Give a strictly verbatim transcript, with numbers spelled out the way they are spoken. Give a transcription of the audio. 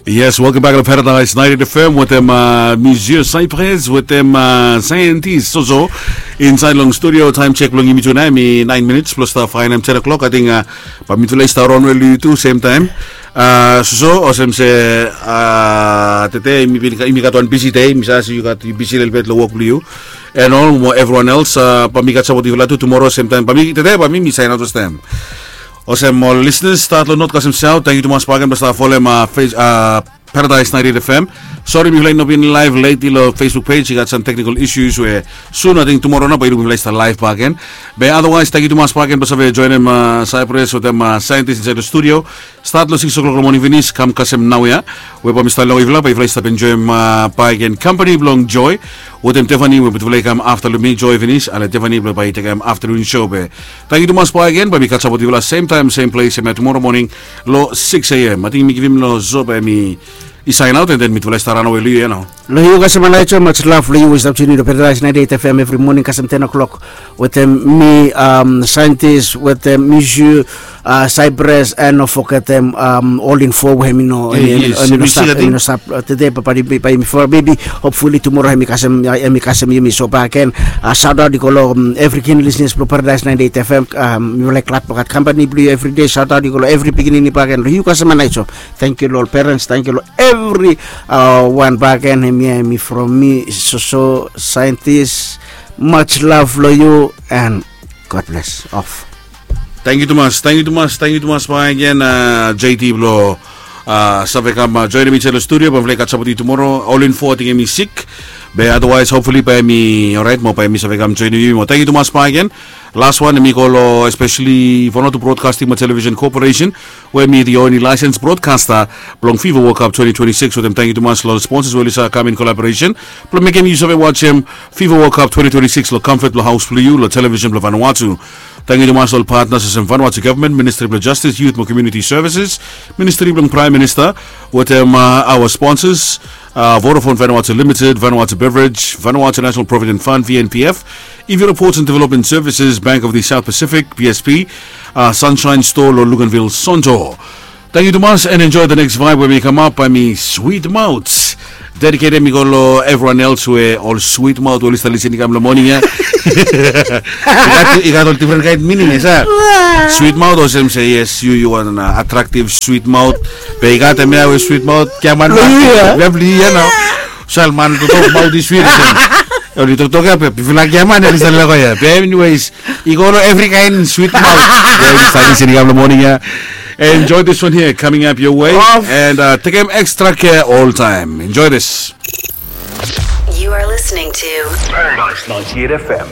Yes, welcome back to Paradise ninety-eight F M wetem Monsieur Cypress wetem Scientist Soso. Insaed long studio, taem chek blong yumi tu nao hemi naen minits blong stap faenem ten o'clock. Ating bae mitufala i stap raon we long yu tu semtaem. Soso, olsem se tede yumi gat wan bisi dei, mi save se yu gat, yu bisi lelebet long wok blong yu. And ol mo evriwan els, bae mi gat sapot yufala tu tumoro semtaem. Bae mi tede bae mi mi saen aot olsem. Olsem ol lisenas stat long not kasem saot, tangkiu tumas bakegen blong stap folem Paradise ninety-eight F M. Sori mifala i no bin laev lately long Facebook page, i gat sam teknikol isus we sun ating tumoro nao bae yu luk mifala i stap laev bakegen. Be otherwise tangkiu tumas bakegen blong save joenem Cypress wetem Scientist insaed long studio. Stat long sikis o'clock long moning finis kam kasem naoia, we bae mi stap long yufala bae yufala i stap enjoem bakegen kampani blong Joy wetem Tiffany, we mitufala i kam afta long mi, Joy finis ale Tiffany blong bae i tekem aftanun show. Be tangkiu tumas bakegen, bae mi katsapotem yufala semtaem sem ples hemia tumoro moning long sikis a.m. Ating mi givim long Soso bae hemi i saen aot, and then mitufala i stap raon we long yu ya nao. Long yu kasem Anaijo, much love long yu we i stap tiun in long Paradise ninety-eight F M evri moning kasem ten o'clock wetem mi, Scientist wetem Monsieur Cypress, and no fogetem All in Four we hemi no, hemi no stap tede, bae bae yumi folem, maybe hopefully tumoro hemi kasem, hemi kasem yumi. So bakegen, saot aot i go long evri keen lisenas blong Paradise ninety-eight F M. Mi laek glad blong gat kampani blong yu evri dei. Saot aot i go long evri pikinini bakegen, long yu kasem Anaijo. Tangkiu long ol perens, tangkiu long evriwan bakegen. Hemia hemi from mi, Soso Scientist. Much love long yu and God bless. Off. Tangkiu tumas, tangkiu tumas, tangkiu tumas bakegen J T blong save kam joenem insaed long studio. Bae mifala i katsapotem yu tumoro. All in Four ating hemi sik, be otherwise hopefully bae hemi oraet mo bae hemi save kam joenem yumi mo. Tangkiu tumas bakegen. Las wan hemi go long especially Vanuatu Broadcasting mo Television Corporation, we hemi the only licensed broadcaster blong FIFA World Cup twenty twenty-six wetem tangkiu tumas long sponsors we oli save kam in collaboration blong mekem yu save wajem FIFA World Cup twenty twenty-six long comfort blong haos blong yu long television blong Vanuatu. Tangkiu tumas long ol partners olsem Vanuatu Government, Ministry blong Justice, Youth mo Community Services, Ministry blong Prime Minister, wetem our sponsors, Vodafone Vanuatu Limited, Vanuatu Beverage, Vanuatu National Provident Fund, V N P F, Ivi Reports and Development Services, Bank of the South Pacific, B S P, Sunshine Store long Luganville, Sonto. Tangkiu tumas and enjoy the next vibe we hemi kamap, bae hemi Sweet Mouth. Dediketem i go long evriwan els we ol sweet mouth we oli stap lisin i kam long moning ya. I gat ol difren kaen mining ya, sa. Sweet mouth olsem se yes, yu yu wan attractive sweet mouth. Be i gat hemia we sweet mouth giaman. Long yu ya nao. Sal man toktok maot i swit olsem. Oli toktok ya be bifala giaman oli stap lego ya. Be anyways, i go long evri kaen swit maot we oli stap lisin i kam long moning ya. Enjoy this one here coming up your way. And tekem extra care oltaem. Enjoy this. You are listening to Paradise ninety-eight F M.